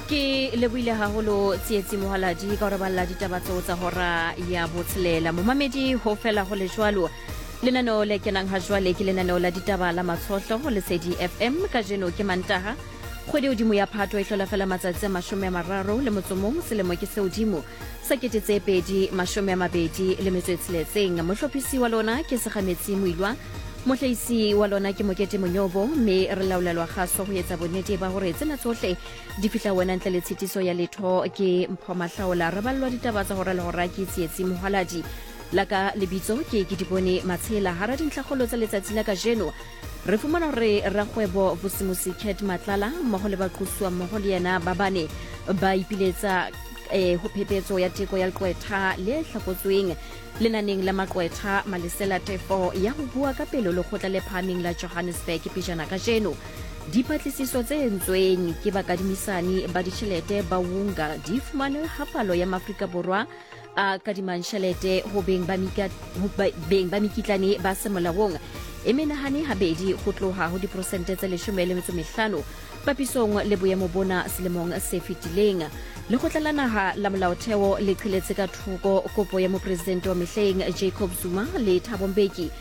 Ke lebohile haholo Tsietsi Mohaladi ka gore balla ditaba tseo tsa hora ya botshelela. Momamedi ho fela ho le jwalo. Lenaneo le kenang ha jwale ke lenaneo la ditaba la Matshohlo ho Lesedi FM. Kajeno ke Mantaha, kgwedi hodimo ya Phato e hlola fela matsatsi a 31 selemo ke se hodimo sa 2026. Mohlophisi wa lona ke Segametsi Moilwa, mohlahisi wa lona ke Mokete Monyobo, mme re laolelwa kgaso ho etsa bonnete ba hore tsena tsohle di fihla wena ntle le tshitiso ya letho ke Mpho Mahlaola. Re ballwa ditaba tsa hora le hora ke Tsietsi Mohaladi. La ka lebitso ke Kedibone Matshela. Hara dintlhakgolo tsa letsatsi la kajeno re fumana hore rakgwebo Vusimusi Cat Matlala mmogo le baqosuwa mmogo le yena ba bane ba ipiletsa ho phepetso ya teko ya leqwetha le hlakotsweng lenaneng la maqwetha Malesela Tefo ya ho bua ka pele lekgotla le phahameng la Johannesburg pejana kajeno. Dipatlisiso tse entsweng ke bakadimisani ba ditjhelete ba Wunga di fumane ha palo ya Maafrika Borwa a kadimang tjhelete ho beng ba mika, ho beng ba mekitlane ba semolaong e menahane habedi ho tloha ho diprosente tse 15 papisong le boemo bona selemong se fetileng. Lekgotla la Naha la Molaotheo le qheletse ka thoko kopo ya mopresidente wa mehleng Jacob Zuma le Thabo Mbeki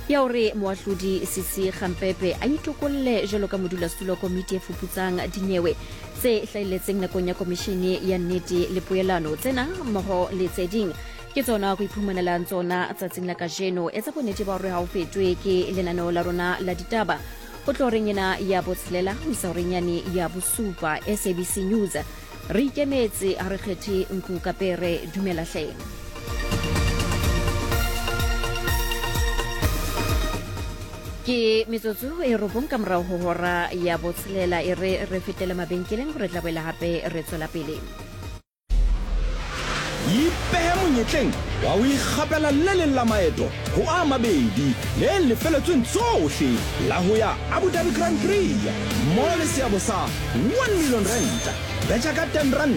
ya hore moahlodi Sisi Khampepe a itokolle jwalo ka modulasetulo wa komiti e fuputsang dinyewe tse hlahelletseng nakong ya komishene ya nnete le poelano. Tsena mmoho le tse ding ke tsona go iphumanelang tsona tsatsing la kajeno. Etsa bonnete ba hore ha o fetwe ke lenaneo la rona la ditaba ho tloha horeng ena ya botshelela ho isa horeng yane ya bosupa. SABC News re ikemetse, ha re kgethe nku ka pere. Dumela hle. Ke metsotso e robong ka morago ho hora ya botshelela. E re re fetele mabenkeleng gore tla boela gape re tswela pele. Ipehe monyetleng wa ho ikgapela le leng la maeto ho a mabedi le lefeletsweng tsohle la ho ya Abu Dhabi Grand Prix mmoho le seabo sa R1 million. Betjha ka R10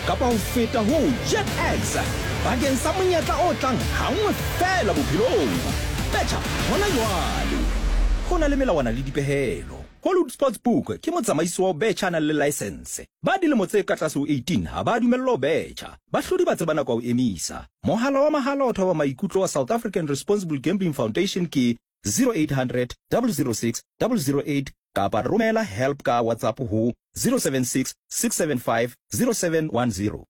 kapa ho feta ho JetX bakeng sa monyetla o tlang hanngwe feela bophelong. Betjha hona jwale! Ho na le melawana le dipehelo. Hollywood Sportsbook ke motsamaisi wa ho betjha a nang le laesense. Ba dilemo tse ka tlase ho 18 ha ba dumellwa ho betjha. Bahlodi ba tseba nako ya ho emisa. Mohala wa mahala wa thoba maikutlo wa South African Responsible Gambling Foundation ke 0800 006 008 kapa romela help ka WhatsApp ho 076 675 0710.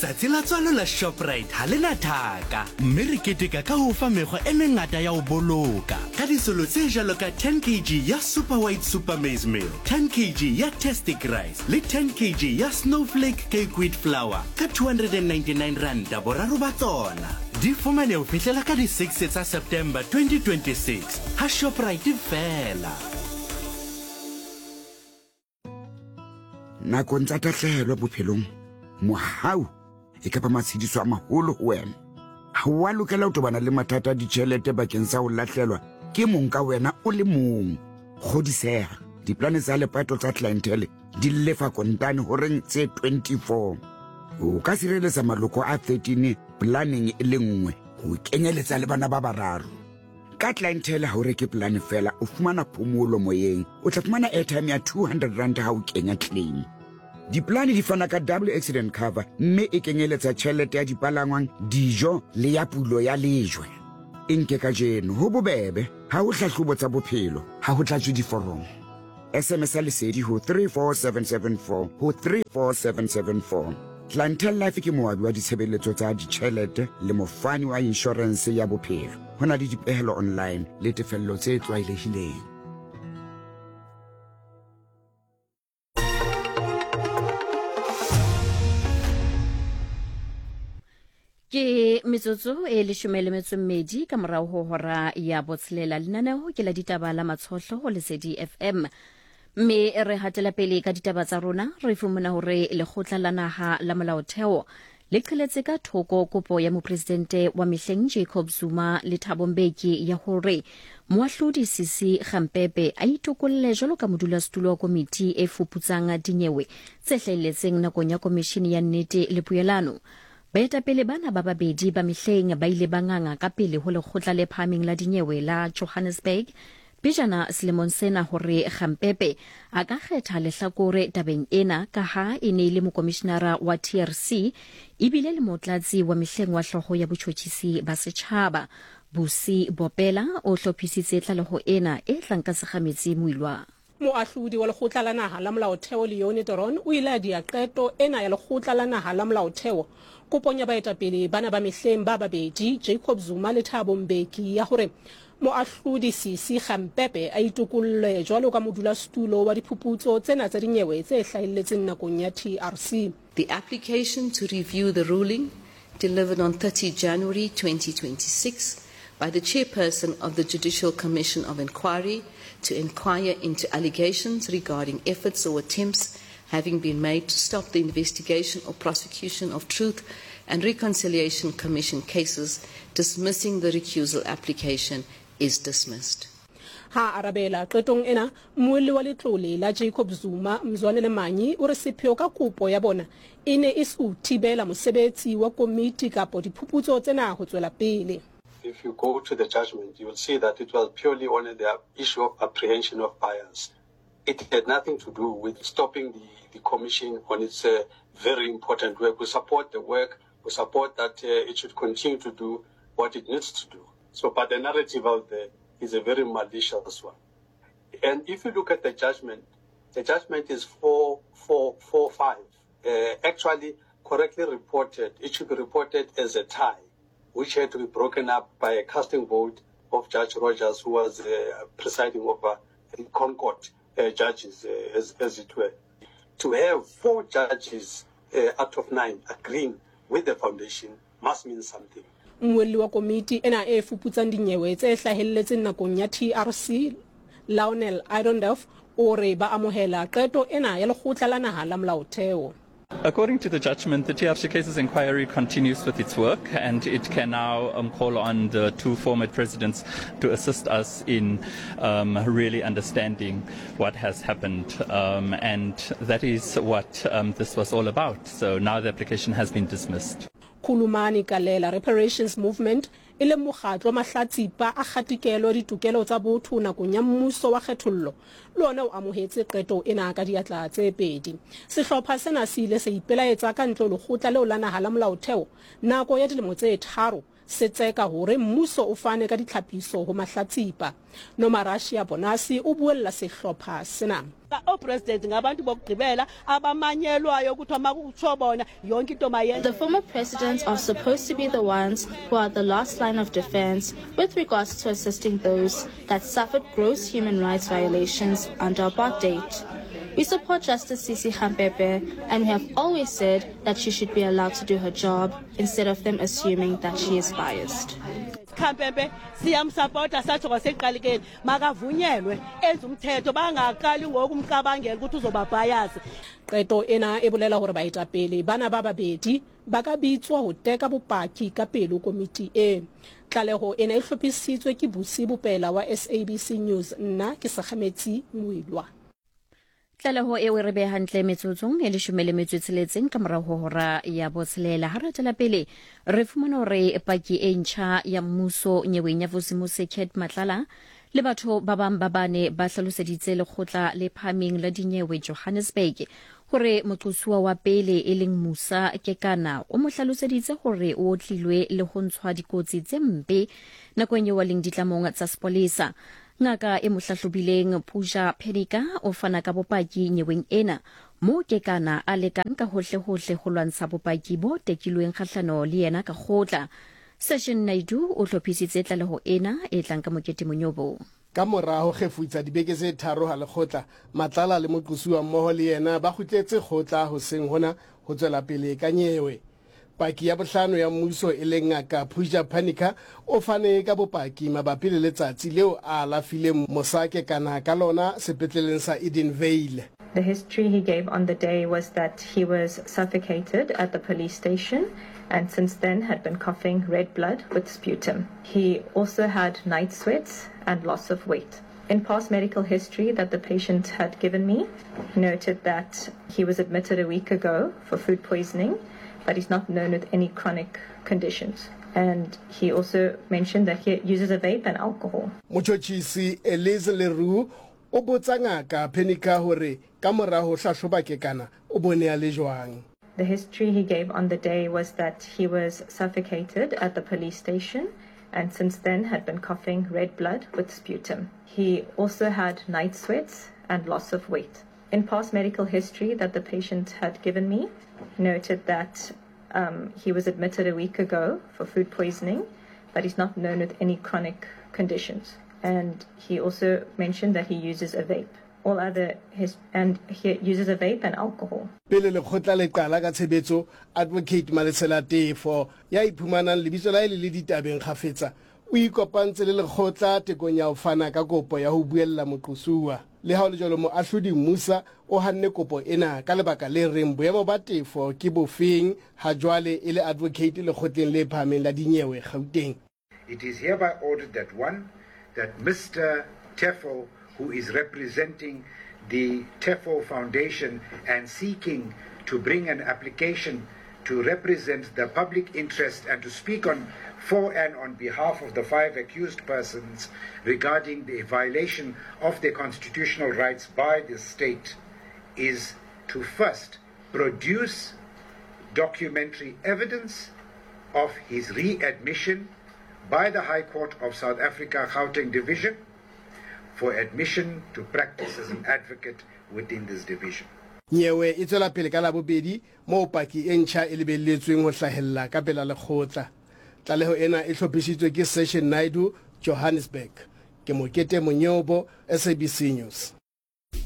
Tsatsi la tswalo la Shoprite ga le na thaka, mme re keteka ka ho fa mekgwa e mengata ya ho boloka ka disolo tse jwalo ka 10 kg ya Super White Super Maize Meal, 10 kg ya Tastic Rice le 10 kg ya Snowflake Cake Wheat Flour ka R299 boraro ba tsona. Di fumane ho fihlela ka di 6 tsa September 2026 ha Shoprite feela. Nakong tsa tahlehelo bophelong, mohau e ka ba matshediso a maholo ho wena. Ha o a lokela ho tobana le mathata a ditjhelete bakeng sa ho lahlelwa ke mong ka wena o le mong. Kgodiseha, diplane tsa lepato tsa Clientele di lefa kontane horeng tse 24. O ka sireletsa maloko a 13 planeng e le nngwe ho kenyeletsa le bana ba bararo. Ka Clientele ha o reke polane fela, o fumana phomolo moyeng. O tla fumana airtime ya R200 ha o kenya claim. Dipolane di fana ka double accident cover mme e kenyeletsa tjhelete ya dipalangwang, dijo le ya pulo ya lejwe. E nke kajeno, ho bobebe, ha ho hlahlobo tsa bophelo, ha ho tlatswe diforomo. SMS ya Lesedi ho 34774 ho 34774. Clientele Life ke moabi wa ditshebeletso tsa ditjhelete le mofani wa inshorense ya bophelo. Ho na le dipehelo online le tefello tse tlwaelehileng. Ke metsotso e leshome le metso mmedi ka morago ho hora ya botshelela. Lenaneo ke la ditaba la Matshohlo ho Lesedi FM. Mme re hatela pele ka ditaba tsa rona, re fumana hore lekgotla la naha la molaotheo le qheletse ka thoko kopo ya mopresidente wa mehleng Jacob Zuma le Thabo Mbeki ya hore moahlodi Sisi Khampepe a itokolle jwalo ka modulasetulo wa komiti e fuputsang dinyewe tse hlahelletseng nakong ya komishini ya nnete le poelano. Baetapele bana ba babedi ba mehleng ba ile ba nganga ka pele ho Lekgotla le Phahameng la Dinyewe la Johannesburg pejana selemong sena hore Kgampepe a ka kgetha lehlakore tabeng ena kaha e ne e le mokomishinara wa TRC ebile le motlatsi wa mehleng wa hloho ya botjhotjhisi ba setjhaba. Busi Bopela o hlophisitse tlaleho ena e tlang ka Segametsi Moilwa. Moahlodi wa Lekgotla la Naha la Molaotheo Leone Theron o ile a dia qeto ena ya Lekgotla la Naha la Molaotheo kopong ya baetapele bana ba mehleng ba babedi, Jacob Zuma le Thabo Mbeki, ya hore Moahlodi Sisi Khampepe a itokolle jwalo ka modulasetulo wa diphuputso tsena tsa dinyewe tse hlahelletseng nakong ya TRC. The application to review the ruling delivered on 30 January 2026 by the chairperson of the Judicial Commission of Inquiry to inquire into allegations regarding efforts or attempts having been made to stop the investigation or prosecution of Truth and Reconciliation Commission cases dismissing the recusal application is dismissed. Ha a arabela qetong ena, mmuelli wa letlole la Jacob Zuma, Mzwanele Manyi, o re sepheo ka kopo ya bona e ne e se ho thibela mosebetsi wa komiti kapo diphuputso tsena ho tswela pele. If you go to the judgment, you will see that it was purely on the issue of apprehension of bias. It had nothing to do with stopping the, the commission on its uh, very important work. We support the work. We support that uh, it should continue to do what it needs to do. So, but the narrative out there is a very malicious one. And if you look at the judgment, the judgment is 4, 4, 4, 5. Uh, actually, correctly reported, it should be reported as a tie, which had to be broken up by a casting vote of Judge Rogers, who was uh, presiding over the Concord uh, judges, uh, as, as it were. To have four judges uh, out of nine agreeing with the foundation must mean something. Mmuelli wa komiti ena e fuputsang dinyewe tse hlahelletseng nakong ya TRC, Lionel Idendorf, o re ba amohela qeto ena ya Lekgotla la Naha la Molaotheo. According to the judgment, the TRC cases inquiry continues with its work and it can now um, call on the two former presidents to assist us in um, really understanding what has happened. Um, and that is what um, this was all about. So now the application has been dismissed. Khulumani Galela Reparations Movement, e leng mokgatlo wa mahlatsipa a kgatikelo ditokelo tsa botho nakong ya mmuso wa kgethollo, le ona o amohetse qeto ena ka diatla tse pedi. Sehlopha sena se ile sa ipelaetsa ka ntle ho lekgotla leo la naha la molaotheo nako ya dilemo tse tharo se tseka hore mmuso o fane ka ditlhapiso ho mahlatsipa. Nomarashiya Bonasi o buella sehlopha sena. O-president ngabantu bokugqibela abamanyelwayo kuthiwa makutsho bona yonke into mayenze. The former presidents are supposed to be the ones who are the last line of defense with regards to assisting those that suffered gross human rights violations under apartheid. We support Justice Sisi Khampepe and we have always said that she should be allowed to do her job instead of them assuming that she is biased. Khampepe siyamsapota satsho kwasekuqalikeni makavunyelwe enze umthetho bangaqali ngoku umcabangela ukuthi uzoba bias. Qeto ena e bolela hore baetapele bana ba babedi ba ka bitswa ho teka bopaki ka pele ho komiti e. Tlaleho ena e hlophisitswe ke Busi Bopela wa SABC News. Nna ke Segametsi Moilwa. Tlaleho eo e re beha hantle metsotsong e leshome le metso e tsheletseng ka morago ho hora ya botshelela. Ha re tswela pele, re fumana hore paki e ntjha ya mmuso nyeweng ya Vusimusi Cat Matlala le batho ba bang ba bane ba hlaloseditse lekgotla le phahameng la dinyewe Johannesburg hore moqosuwa wa pele e leng Musa Kekana o mo hlaloseditse hore o otlilwe le ho ntshwa dikotsi tse mpe nakong eo a leng ditlamong tsa sepolesa. Ngaka e mo hlahlobileng Pooja Pedika o fana ka bopaki nyeweng ena moo Kekana a lekang ka hohle-hohle ho lwantsha bopaki bo tekilweng kgahlano le yena ka kgotla. Session Naidoo o hlophisitse tlaleho ena e tlang ka Mokete Monyobo. Ka mora ho kgefutsa dibeke tse tharo ha lekgotla, Matlala le moqosuwa mmoho le yena ba kgutletse kgotla hoseng hona ho tswela pele ka nyewe. Paki ya bohlano ya mmuso e leng Ngaka Pooja Panicker o fane ka bopaki mabapi le letsatsi leo a alafileng Musa Kekana ka lona sepetleleng sa Edenvale. The history he gave on the day was that he was suffocated at the police station and since then had been coughing red blood with sputum. He also had night sweats and loss of weight. In past medical history that the patient had given me, he noted that he was admitted a week ago for food poisoning but he's not known with any chronic conditions. And he also mentioned that he uses a vape and alcohol. Motšhotšhisi Elise Le Roux o botsa Ngaka Penicker hore ka mora ho hlahloba Kekana o bone a le jwang. The history he gave on the day was that he was suffocated at the police station and since then had been coughing red blood with sputum. He also had night sweats and loss of weight. In past medical history that the patient had given me, noted that um, he was admitted a week ago for food poisoning, but he's not known with any chronic conditions. And he also mentioned that he uses a vape. All other his and he uses a vape and alcohol. Pele lekgotla le qala ka tshebetso, Advocate Malesela Tefo, ya iphumanang lebitso la hae le le ditabeng kgafetsa, o ikopantse le lekgotla tekong ya ho fana ka kopo ya ho buella moqosuwa. Le ha ho le jwalo, Moahlodi Moosa o hanne kopo ena ka lebaka le reng boemo ba Tefo ke bofeng ha jwale e le advocate lekgotleng le phahameng la dinyewe Gauteng. It is hereby ordered that one, that Mr. Teffo, who is representing the Teffo Foundation and seeking to bring an application to represent the public interest and to speak on for and on behalf of the five accused persons regarding the violation of their constitutional rights by the state is to first produce documentary evidence of his readmission by the High Court of South Africa Gauteng Division for admission to practice as an advocate within this division. Nyewe e tswela pele ka Labobedi moo paki e ntjha e lebelletsweng ho hlahella ka pela lekgotla. Tlaleho ena e hlophisitswe ke Seshen Naidoo, Johannesburg. Ke Mokete Monyobo, SABC News.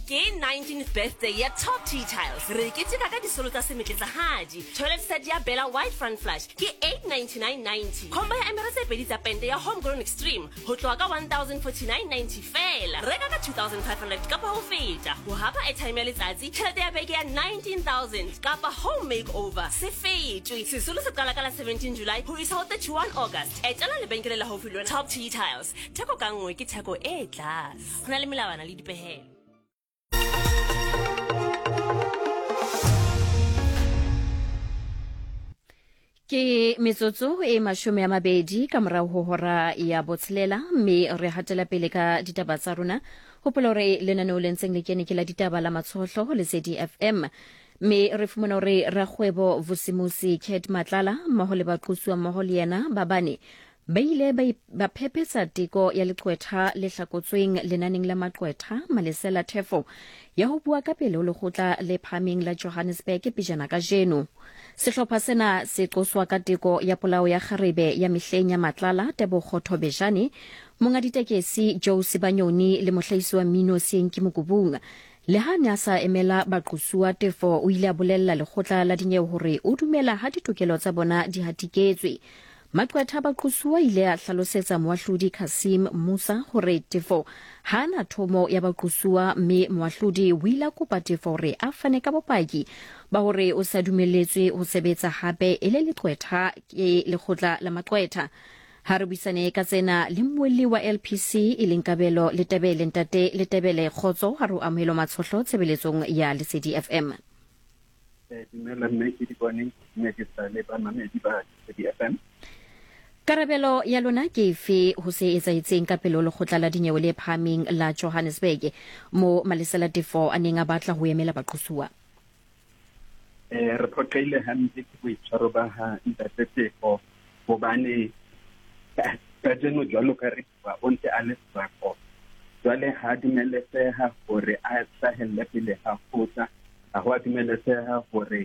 Ke 19th birthday ya Top Tea Tiles. Re keteka ka disolo tsa semetletsahadi. Toilet set ya Bella White Front Flush ke 899.90. Combo ya emere tse pedi tsa pente ya Homegrown Extreme ho tloha ka 1049.90 feela. Reka ka 2500 kapa ho feta ho hapa airtime ya letsatsi, tjhelete ya beke ya 19000 kapa home makeover. Se fetwe. Sesolo se qala ka la 17 July ho isa ho 31 August. Etela lebenkele le haufi le wena. Top Tea Tiles. Theko ka nngwe ke theko e tlase. Ho na le melawana le dipehelo. Ke metsotso e 20 ka morago ho hora ya botshelela, mme re hatela pele ka ditaba tsa rona. Hopola hore lenaneo le ntseng le kene ke la ditaba la Matshohlo ho Lesedi FM, mme re fumana hore rakgwebo Vusimusi Cat Matlala mmoho le baqosuwa mmoho le yena ba bane Ba ile ba ba phephetsa teko ya leqwetha le hlakotsweng lenaneng la maqwetha Malesela Teffo ya ho bua ka pele ho lekgotla le phahameng la Johannesburg pejana kajeno. Sehlopha sena se qoswa ka teko ya polao ya kgarebe ya mehleng ya Matlala Tebogo Thobejane, monga ditekesi Joe Sibanyoni le mohlahisi wa mmino Seenki Mokubung. Le ha a ne a sa emela baqosuwa, Teffo o ile a bolella lekgotla la dinyewe hore o dumela ha ditokelo tsa bona di hatiketswe. Maqwetha a baqosuwa a ile a hlalosetsa moahlodi Cassim Musa hore Tefo ha a na thomo ya baqosuwa mme moahlodi o ile a kopa Tefo hore a fane ka bopaki ba hore o sa dumelletswe ho sebetsa hape e le leqwetha ke lekgotla la maqwetha. Ha re buisane ka tsena le mmuelli wa LPC e leng Kabelo Letebele. Ntate Letebele, kgotso, ha re o amohelo Matshohlo tshebeletsong ya Lesedi FM. Eh, dumela mme ke di bone mme ke sa le bamamedi ba Lesedi FM. Karabelo ya lona ke efe ho se etsahetseng ka pele ho lekgotla la dinyewe le phahameng la Johannesburg mo Malesela Teffo a neng a batla ho emela baqosuwa? Eh, re phoqehile hampe ke boitshwaro ba ha Ntate Teffo hobane kajeno jwalo ka re bua o ntse a le srako. Jwale ha dumeleseha hore a hlahelle pele ha kgotla, ha ho a dumeleseha hore